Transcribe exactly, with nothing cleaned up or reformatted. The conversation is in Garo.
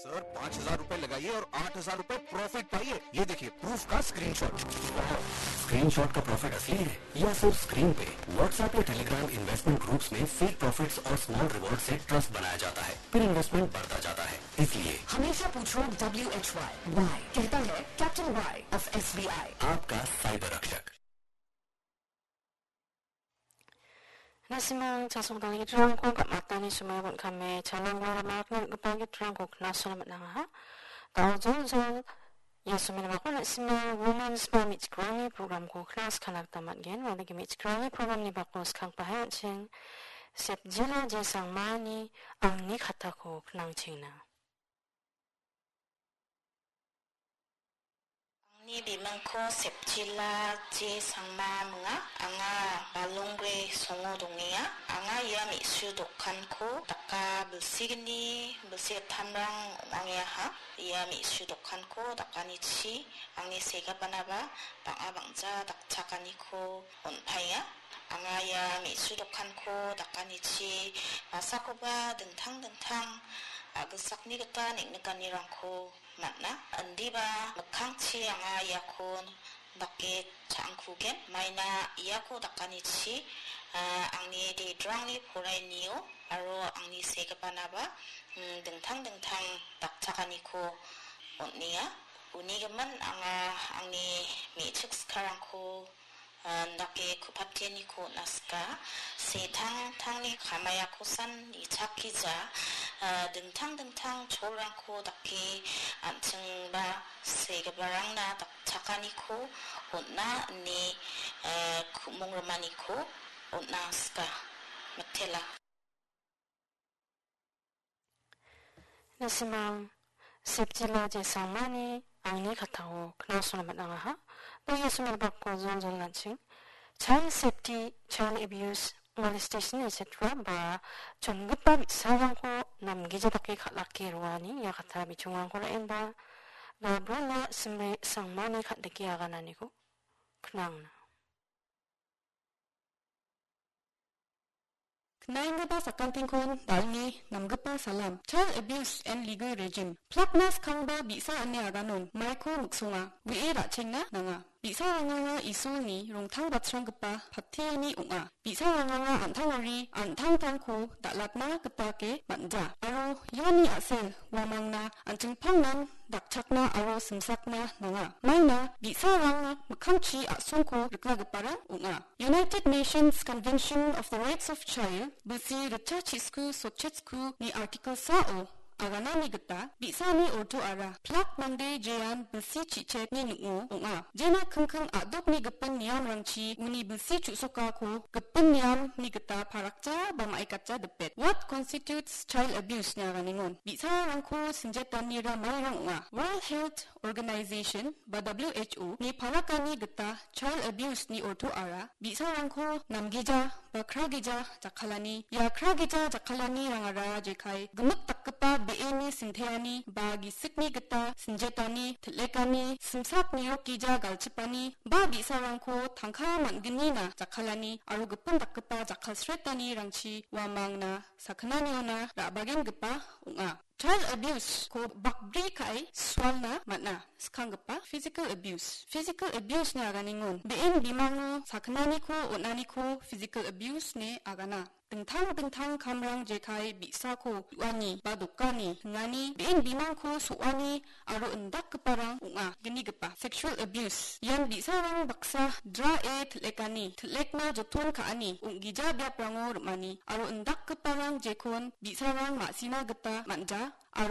सर, पाँच हज़ार रुपए लगाइए और आठ हज़ार रुपए प्रॉफिट पाइए। ये देखिए, प्रूफ का स्क्रीनशॉट। स्क्रीनशॉट का प्रॉफिट असली है या सिर्फ स्क्रीन पे? WhatsApp या Telegram इन्वेस्टमेंट ग्रुप्स में फेक प्रॉफिट्स और स्मॉल रिवॉर्ड से ट्रस्ट बनाया जाता है, फिर इन्वेस्टमेंट बढ़ता जाता है। इसलिए हमेशा पूछो W H Y। Y कहता है Captain Y of S B I। आपका साइबर रक्षक। Nasimang chasongdalni gitrangko gam·atani somoio bon·kame, chalangko rama rakna gita gitrangko knasona man·angaha. Daojoljol, Yesumini bako nasimang Women's ba me·chikrangni programko knas kana gita man·gen. Uandake me·chikrangni programni bako skangpahe an·ching Sepjila J Sangmani angni katako knangchengna. Angni bimingko Sepjila J Sangma minga. Anga Balongre songo dongenga. Anga ia me·su dokanko daka bilsigni, bilsi gittamrang ong·angeaha. Ia me·su dokanko dakanichi angni segipanaba bang·a bang·ja dakchakaniko on·paenga. Anga ia me·su dokanko dakanichi masakoba dingtang dingtang a·gilsakni gita neng·nikanirangko man·a. Indiba mikkangchi anga iako dake cha·angkugen. Maina iako dakanichi, a, angni dedrangni porainio aro angni segipanaba, mm, dingtang dingtang dakchakaniko on·enga. Uni gimin anga angni me·chik sikarangko, ah, indake ku·pateniko on·asika. Setangtangni kamaiakosan nichakija, ah, dingtang dingtang cholrangko dake an·chingba segiparangna dakchakaniko on·a ine, eh, ku·mong rimaniko on·asika. Mitela. Nasimang Sepjila J Sangmani angni katao knasona man·angaha. Dake somoio bako joljol an·ching. Child safety, child abuse, molestation, et cetera ba chongipa bi·sarangko namgija dake kal·ake roani ia kata bichongrangko ra·enba Gabriela Simre Sangmani kal·deke agananiko knangna. Knaenggipa sakantikon dal·ni namgipa salam. Child abuse and legal regime. Plakna skangba bi·sa ine aganon, maiko miksonga, we·e ra·chengna nanga. Bi·sarangara Isolni rongtang batsranggipa pateani ong·a. Bi·sarangara an·tangari an·tangtangko dal·atna gitake man·ja. Aro iani a·sel uamangna an·chingpangnan dakchakna aro simsakna nanga. Maina bi·sarang mikkangchi a·songko rikgiparang ong·a. United Nations Convention of the Rights of Child, bilsi ritchasku sotchasku ni article sao aganani gita bi·sani ortoara plak mande jean bilsi chi·chekni ning·o ong·a. Jena kingking a·dokni gipin niamrangchi uni bilsi chu·sokako gipin niamni gita parakja ba ma·ikatja dipet. What constitutes child abuse ine aganingon? Bi·sarangko sinjetanira mairang ong·a. World Health Organization ba W H O ni palakani gita child abuse ni ortoara bi·sarangko namgija ba kragija jakkalani. Ia kragija jakkalanirangara jekai gimik dakgipa be·eni sinteani ba gisikni gita sinjetani, til·lekani, simsak nirokgija galchipani ba bi·sarangko tangka man·gnina jakkalani aro gipin dakgipa jakkalsretanirangchi uamangna sakgnaniona ra·bagengipa ong·a. Child abuse-ko bakbri ka·e sualna man·a. Skanggipa physical abuse. Physical abuse ine aganingon be·en bimango sakgnaniko on·aniko physical abuse ine agana. Dingtang dingtang kamrang jekai bi·sako u·ani ba dokani, hingani, be·en bimangko so·ani aro indakgiparang ong·a. Gnigipa sexual abuse. Ian bi·sarang baksa dra·e til·lekani, til·lekna joton ka·ani, ong·gija biaprango rim·ani aro indakgiparang jekon bi·sarang ma·sina gita man·ja.